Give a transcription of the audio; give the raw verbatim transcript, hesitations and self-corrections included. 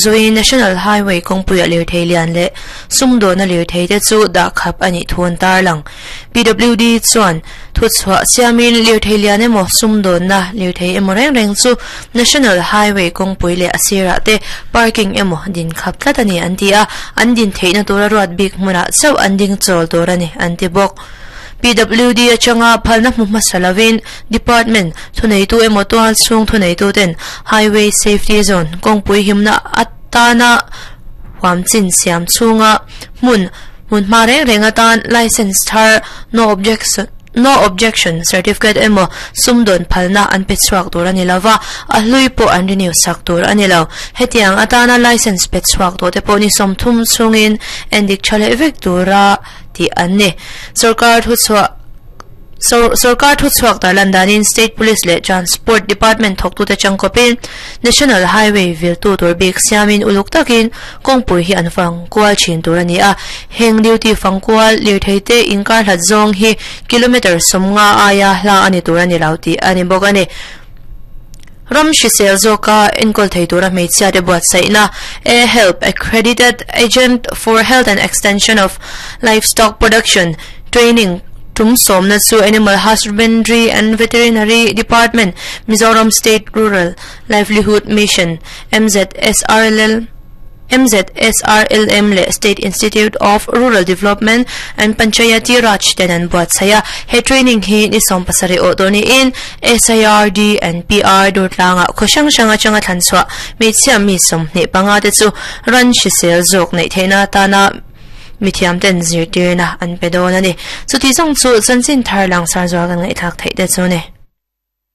Zui National Highway kawngpuia lirthei lian leh sumdawna lirthei te chu dah khap a nih thu an tarlang. P W D chuan thuchhuah siamin lirthei lian emaw sumdawnna lirthei emaw reng reng chu National Highway kawngpui leh a sirah te parking emaw din khap tlat a ni an ti a, an din theihna tura ruat bik hmunah chauh an ding chawl tur a ni an ti bawk. P W D atanga phalna hmu hmasa lovin department thuneitu emaw tual chhung thuneitu ten Highway Safety Zone kawngpui himna atana huam chin siam chhunga hmun hmun hma reng reng atan license thar, no objection no objection certificate emaw sumdawn phalna an pe chhuak tur ani lova, a hlui pawh an renew sak tur ani lo. Hetiang atana license pe chhuak tawh te pawh ni sawmthum chhungin endik tha leh vek tura tih an ni. Sarkar thu chhuah sarkar thu chhuak tarlan danin State Police leh Transport Department thawktu te changkawpin National Highway viltu tur bik siamin uluk takin kawngpui hi an fang kual thin tur ani a. Heng duty fangkual lirthei te inkar hlat zawng hi kilometer sawmnga aia hla ani tur ani lo tih ani bawk ani. Ram hrisel zawka enkawl thei tura hmeichhia te buatsaihna A Help, Accredited Agent for Health and Extension of Livestock Production Training tum sawmna chu Animal Husbandry and Veterinary Department, Mizoram State Rural Livelihood Mission, M Z S R L L M Z S R L M leh State Institute of Rural Development and Panchayati Raj ten an buatsaih a. He training hi ni sawm pasarih awh dawn niin S I R D and P R Durtlanga khaw hrang hrang atanga thlan chhuah hmeichhia mi sawmhnih panga te chu ran hrisel zawk neih theihna atana mithiam ten zirtirna an pe dawn ani. Chuti zawng chu chanchin thar lang sar zual kan ngaihthlak theih te chu ni.